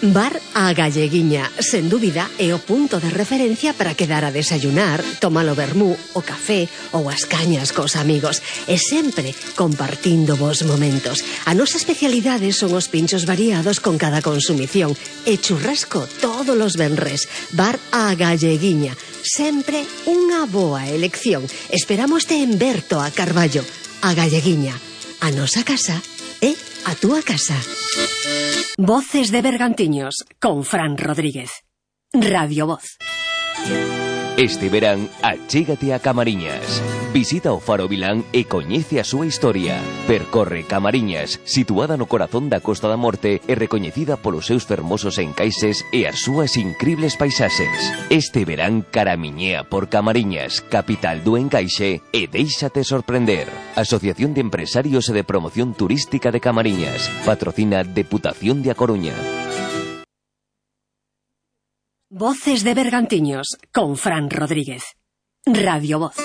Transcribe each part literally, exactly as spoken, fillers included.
Bar A Galleguiña, sen dúbida, é o punto de referencia para quedar a desayunar, tomar o vermú, o café ou as cañas cos amigos, e sempre compartindo vos momentos. A nosa especialidade son os pinchos variados con cada consumición e churrasco todos os venres. Bar A Galleguiña, sempre unha boa elección. Esperámoste en Berto a Carballo. A Galleguiña, a nosa casa é a túa casa. Voces de Bergantiños con Fran Rodríguez. Radio Voz. Este verán, achégate a Camariñas. Visita o Faro Vilán e coñece a súa historia. Percorre Camariñas, situada no corazón da Costa da Morte e recoñecida polos seus fermosos encaixes e as súas incribles paisaxes. Este verán caramiñea por Camariñas, capital do encaixe, e déixate sorprender. Asociación de Empresarios e de Promoción Turística de Camariñas. Patrocina Deputación de A Coruña. Voces de Bergantiños con Fran Rodríguez. Radio Voz.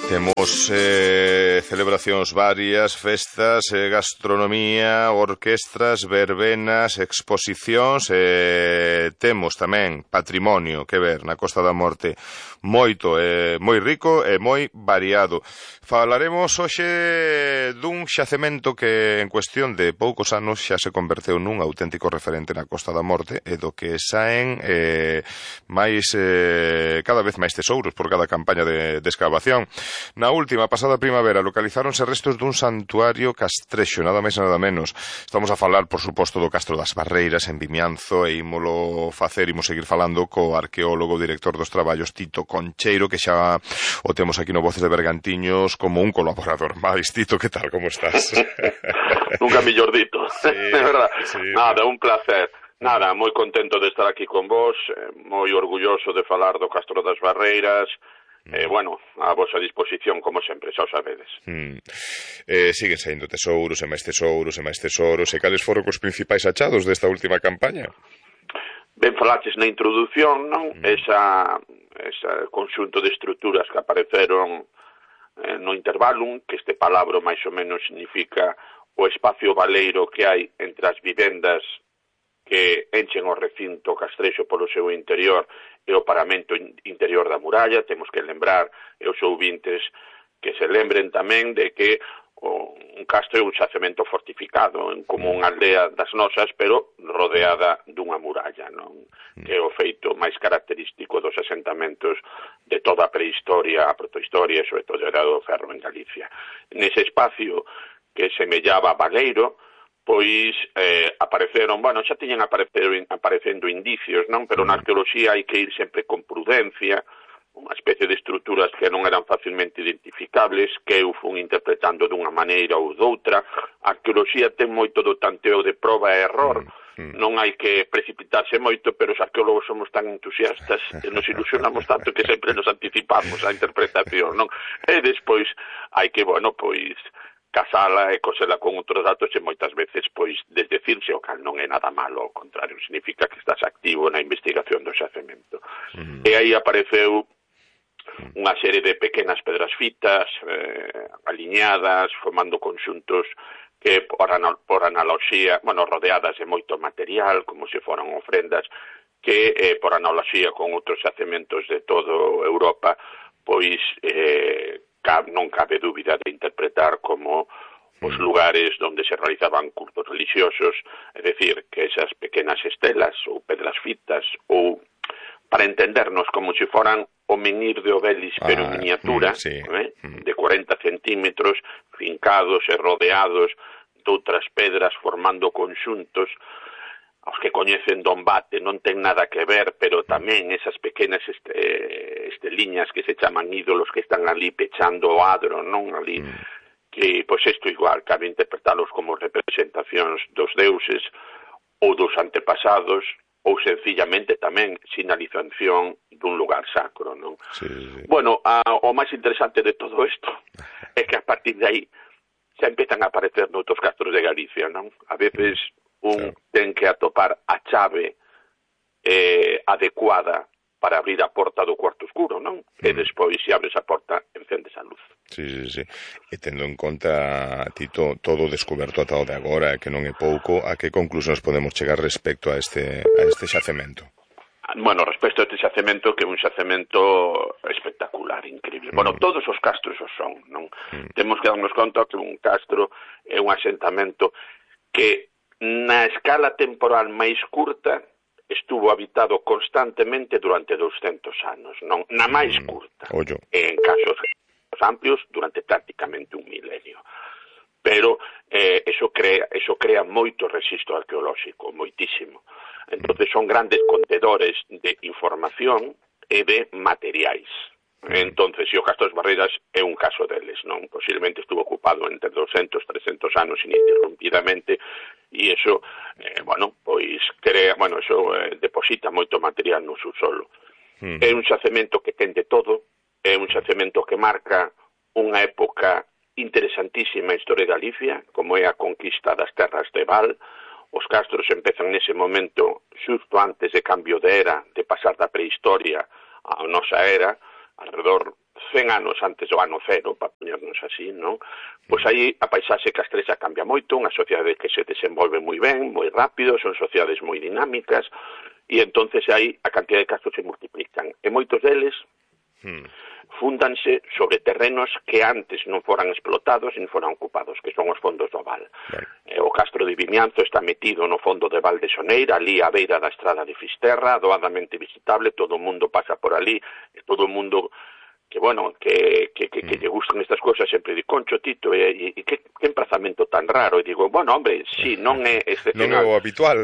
Temos eh, celebracións varias, festas, eh, gastronomía, orquestras, verbenas, exposicións, e eh, temos tamén patrimonio que ver na Costa da Morte, moito, eh, moi rico e moi variado. Falaremos hoxe dun xacemento que en cuestión de poucos anos xa se converteu nun auténtico referente na Costa da Morte e do que saen eh, máis eh, cada vez máis tesouros por cada campaña de, de excavación. Na última, pasada primavera, localizáronse restos dun santuario castrexo, nada máis e nada menos. Estamos a falar, por suposto, do Castro das Barreiras en Vimianzo, e ímolo facer, imos seguir falando co arqueólogo, director dos traballos, Tito Concheiro, que xa o temos aquí no Voces de Bergantiños como un colaborador máis. Tito, que tal, como estás? Nunca mellor dito, sí, de verdad. Sí, Nada, un placer. Nada, moi contento de estar aquí con vos, moi orgulloso de falar do Castro das Barreiras. Eh, bueno, a vosa disposición, como sempre, xa o sabedes. Mm. Eh, siguen saindo tesouros e máis tesouros e máis tesouros. E cales foron os principais achados desta última campaña? Ben falaches na introdución, non? Mm. Esa, esa conxunto de estruturas que apareceron eh, no intervalum, que este palabra máis ou menos significa o espacio baleiro que hai entre as vivendas que enchen o recinto castrexo polo seu interior e o paramento interior da muralla. Temos que lembrar, e os ouvintes que se lembren tamén de que o, un castro é un xacemento fortificado, como unha aldea das nosas, pero rodeada dunha muralla, non? Que é o feito máis característico dos asentamentos de toda a prehistoria, a protohistoria e sobre todo a Edade do Ferro en Galicia. Nese espacio que semellaba baleiro, pois eh, apareceron, bueno, xa tiñan aparecendo indicios, non? Pero na arqueoloxía hai que ir sempre con prudencia, unha especie de estruturas que non eran facilmente identificables, que eu fun interpretando dunha maneira ou doutra. A arqueoloxía ten moito do tanteo de proba e error, mm. non hai que precipitarse moito, pero os arqueólogos somos tan entusiastas e nos ilusionamos tanto que sempre nos anticipamos a interpretación, non? E despois hai que, bueno, pois casala e cosela con outros datos e moitas veces, pois, desdecirse, o cal non é nada malo, ao contrario, significa que estás activo na investigación do xacemento. Mm. E aí apareceu unha serie de pequenas pedras fitas, eh, aliñadas, formando conxuntos que, por, anal por analoxía, bueno, rodeadas de moito material, como se foran ofrendas, que, eh, por analoxía con outros xacementos de todo Europa, pois, eh, non cabe dúbida de interpretar como os lugares onde se realizaban cultos religiosos, é dicir, que esas pequenas estelas ou pedras fitas, ou, para entendernos, como se foran o menhir de Obelis, pero ah, en miniatura, mm, sí. eh, de cuarenta centímetros, fincados e rodeados de outras pedras, formando conxuntos. Os que coñecen Dombate non ten nada que ver, pero tamén esas pequenas este, esteliñas que se chaman ídolos que están ali pechando o adro, non? Ali, mm. que, pois isto igual, cabe interpretalos como representacións dos deuses ou dos antepasados, ou sencillamente tamén sinalización dun lugar sacro, non? Sí, sí. Bueno, a, o máis interesante de todo isto é que a partir de aí xa empezan a aparecer noutros castros de Galicia, non? A veces un claro. ten que atopar a chave eh, adecuada para abrir a porta do cuarto oscuro, non? Mm. E despois, se abres a porta, encendes a luz. Sí, sí, sí. E tendo en conta, Tito, todo o descoberto ata o de agora, que non é pouco, a que conclusións podemos chegar respecto a este, a este xacemento? Bueno, respecto a este xacemento, que é un xacemento espectacular, increíble. Mm. Bueno, todos os castros o son, non? Mm. Temos que darnos conta que un castro é un asentamento que na escala temporal máis curta estuvo habitado constantemente durante douscentos anos, non? Na máis curta. Ollo. En casos amplios, durante prácticamente un milenio. Pero eh, eso crea eso crea moito rexistro arqueolóxico, moitísimo. Entonces son grandes contedores de información e de materiais. Entonces, se o Castro das Barreiras é un caso deles, non? Posiblemente estuvo ocupado entre doscientos, trescentos anos ininterrumpidamente e iso, eh, bueno, pois crea, bueno, iso eh, deposita moito material no subsolo. Uh-huh. É un xacemento que ten de todo, é un xacemento que marca unha época interesantísima na historia de Galicia, como é a conquista das terras de Val. Os castros empezan nese momento xusto antes de cambio de era, de pasar da prehistoria á nosa era, alrededor cen anos antes do ano cero, para poñernos así, non? Pois aí a paisaxe castrexa cambia moito, unha sociedade que se desenvolve moi ben, moi rápido, son sociedades moi dinámicas, e entonces aí a cantidad de castros se multiplican. E moitos deles hmm. fúndanse sobre terrenos que antes non foran explotados e non foran ocupados, que son os fondos do Val. Right. O Castro de Vimianzo está metido no fondo de Val de Soneira, ali á beira da estrada de Fisterra, doadamente visitable, todo o mundo pasa por ali, e todo o mundo que, bueno, que, que, que, mm. que lle gustan estas cousas sempre di, Concho, Tito, e, e que, que emprazamento tan raro, e digo, bueno, hombre, sí, non é excepcional. Non é o habitual.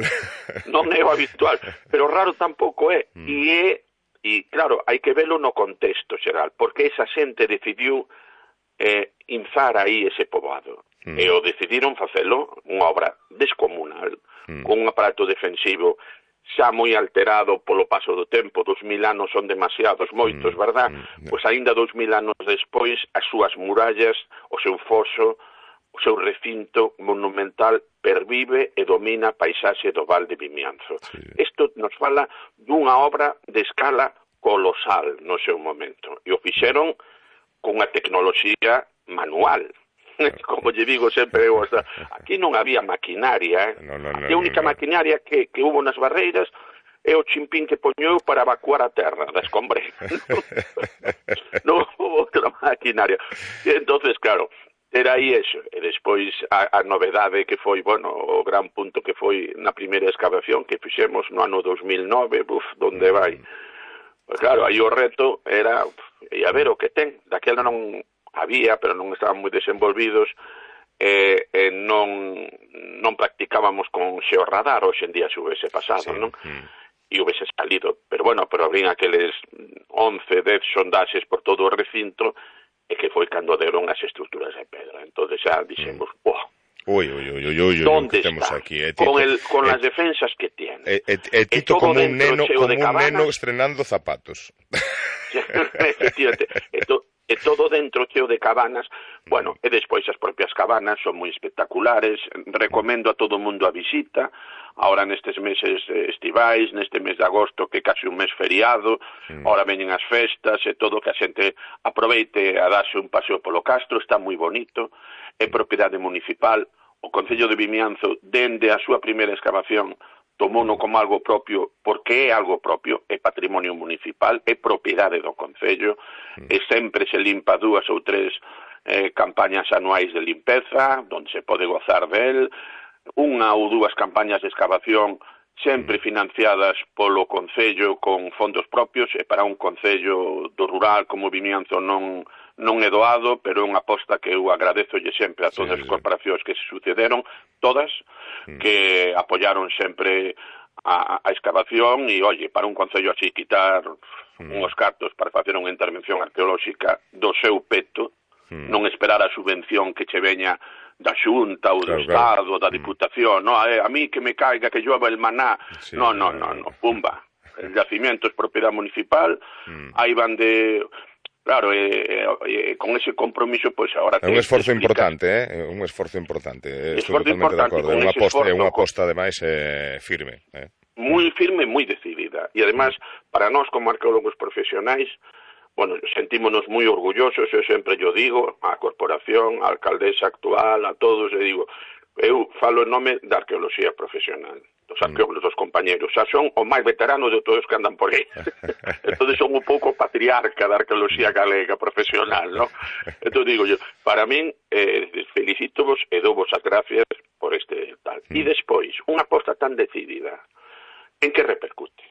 Non é o habitual, pero raro tampouco é, mm. e é E, claro, hai que velo no contexto xeral, porque esa xente decidiu eh, inzar aí ese poboado. Mm. E o decidiron facelo unha obra descomunal, mm. con un aparato defensivo xa moi alterado polo paso do tempo. Dos mil anos son demasiados, moitos, mm. verdad? Mm. Pois aínda dos mil anos despois, as súas murallas, o seu foso, o seu recinto monumental pervive e domina a paisaxe do Val de Vimianzo. Isto sí. nos fala dunha obra de escala colosal no seu momento. E o fixeron con a tecnoloxía manual. Como lle digo sempre, o sea, aquí non había maquinaria. Eh? No, no, no, aquí a única no, no. maquinaria que, que hubo nas barreiras é o chimpín que poñeu para evacuar a terra da escombre. Non hubo outra maquinaria. E entonces, claro, era aí eso, e despois a, a novedade que foi, bueno, o gran punto que foi na primeira excavación que fixemos no ano dos mil nove, buf, donde vai? Pues claro, aí o reto era, e a ver o que ten, daquela non había, pero non estaban moi desenvolvidos, e, e non, non practicábamos con xeorradar, hoxe en día se houvese pasado, sí. non? E houvese salido, pero bueno, pero habían aqueles once, dez sondaxes por todo o recinto, e que foi cando deron as estruturas de pedra. Entón xa dixemos, mm. oh, Uy, uy, uy, uy, uy, ¿dónde que está? Aquí, eh, con el, con eh, las defensas que tiene. Eh, eh, eh, Tito como un neno, como un neno estrenando zapatos. Efectivamente. E, to, e todo dentro cheo de cabanas. Bueno, e despois as propias cabanas son moi espectaculares. Recomendo a todo o mundo a visita. Ahora nestes meses estivais, neste mes de agosto, que é casi un mes feriado, mm. ahora veñen as festas e todo, que a xente aproveite a darse un paseo polo Castro, está moi bonito, é propiedade municipal. O Concello de Vimianzo, dende a súa primeira excavación, tomouno como algo propio, porque é algo propio, é patrimonio municipal, é propiedade do Concello, mm. e sempre se limpa dúas ou tres eh, campañas anuais de limpeza, onde se pode gozar del, unha ou dúas campañas de excavación sempre financiadas polo Concello con fondos propios, e para un Concello do rural como Vimianzo non non é doado, pero é unha aposta que eu agradezolle sempre a todas sí, as corporacións que se sucederon, todas, mm. que apoyaron sempre a, a excavación, e, oye, para un Concello así quitar mm. uns cartos para facer unha intervención arqueolóxica do seu peto, mm. non esperar a subvención que che veña da Xunta ou do claro, Estado, claro. da Diputación, no, a, a mí que me caiga, que llueva el maná, sí, no, no, no, no, pumba, el yacimiento es propiedad municipal, mm. aí van de... Claro, e, e, e con ese compromiso, pois, pues, agora... É un esforzo importante, eh? Un esforzo importante, eh? Estou totalmente importante, de acordo, é unha aposta, é unha aposta, ademais, eh, firme, eh? Moi firme, moi decidida, e ademais, para nós, como arqueólogos profesionais, bueno, sentímonos moi orgullosos, eu sempre yo digo, a corporación, a alcaldesa actual, a todos, e digo, eu falo en nome da arqueoloxía profesional, dos arqueólogos, dos compañeros, xa son o máis veteranos de todos que andan por aí. Entón son un pouco patriarca da arqueoloxía galega profesional, ¿no? Entón digo yo, para min, eh, felicito-vos e dou-vos as gracias por este tal. E despois, unha aposta tan decidida, en que repercute?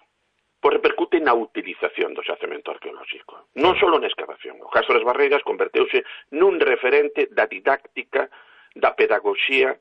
Pois repercute na utilización do xacemento arqueolóxico. Non só na excavación. O Castro das Barreiras converteuse nun referente da didáctica, da pedagogía,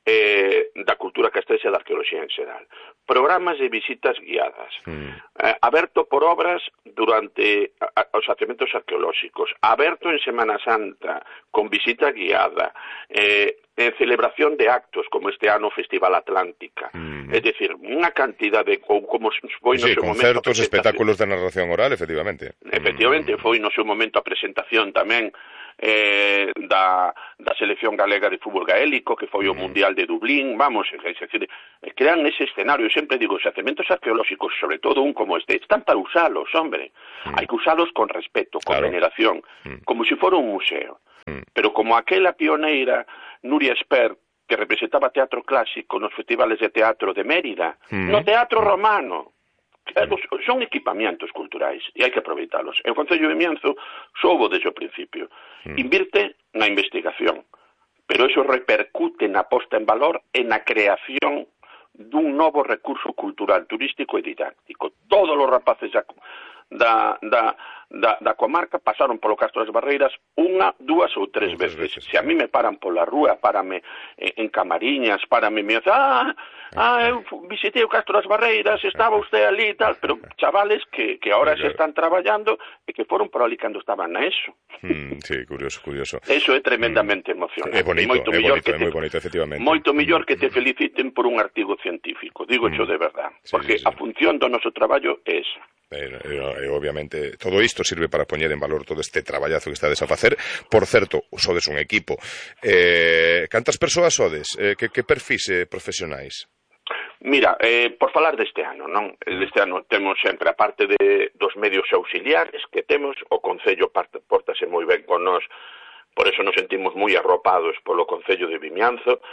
eh, da cultura castrexa e da arqueoloxía en xeral. Programas de visitas guiadas, mm. eh, aberto por obras durante a, a, os xacementos arqueolóxicos, aberto en Semana Santa, con visita guiada, eh, en celebración de actos, como este ano o Festival Atlántica. Mm. É dicir, unha cantidad de... Ou como foi no sí, seu concertos, momento... espectáculos de narración oral, efectivamente. Efectivamente, mm. foi no seu momento a presentación tamén eh, da, da selección galega de fútbol gaélico, que foi o mm. Mundial de Dublín, vamos, é dicir, crean ese escenario, sempre digo, xacementos arqueolóxicos, sobre todo un como este, están para usalos, hombre, mm. hai que usalos con respeto, con claro. veneración, mm. como se si fora un museo, mm. pero como aquela pioneira Nuria Espert, que representaba teatro clásico nos festivales de teatro de Mérida, mm. no teatro romano, son equipamientos culturais e hai que aproveitalos. E o Concello de Vimianzo soubo desde o principio. Mm. Invirte na investigación, pero eso repercute na posta en valor e na creación dun novo recurso cultural, turístico e didáctico. Todos os rapaces da, da, da, da, da comarca pasaron polo Castro das Barreiras unha, dúas ou tres veces. veces. Se a mí me paran pola rúa, párame en Camariñas, párame me dicen, ah, ah, eu visitei o Castro das Barreiras, estaba usted ali e tal, pero chavales que, que ahora se están traballando e que foron por ali cando estaban na ESO. Mm, sí, curioso, curioso. Eso é tremendamente mm. emocionante. É bonito, moito é bonito, é moi bonito, efectivamente. Moito mellor que te feliciten por un artigo científico, digo mm. xo de verdad, sí, porque sí, sí. a función do noso traballo é esa. Pero, e, obviamente, todo isto sirve para poñer en valor todo este traballazo que estades a facer. Por certo, sodes un equipo. Eh, cantas persoas sodes? Eh, que, que perfis eh, profesionais? Mira, eh, por falar deste ano, non? Deste ano temos sempre, a parte de, dos medios auxiliares que temos, o Concello pórtase moi ben con nós, por eso nos sentimos moi arropados polo Concello de Vimianzo.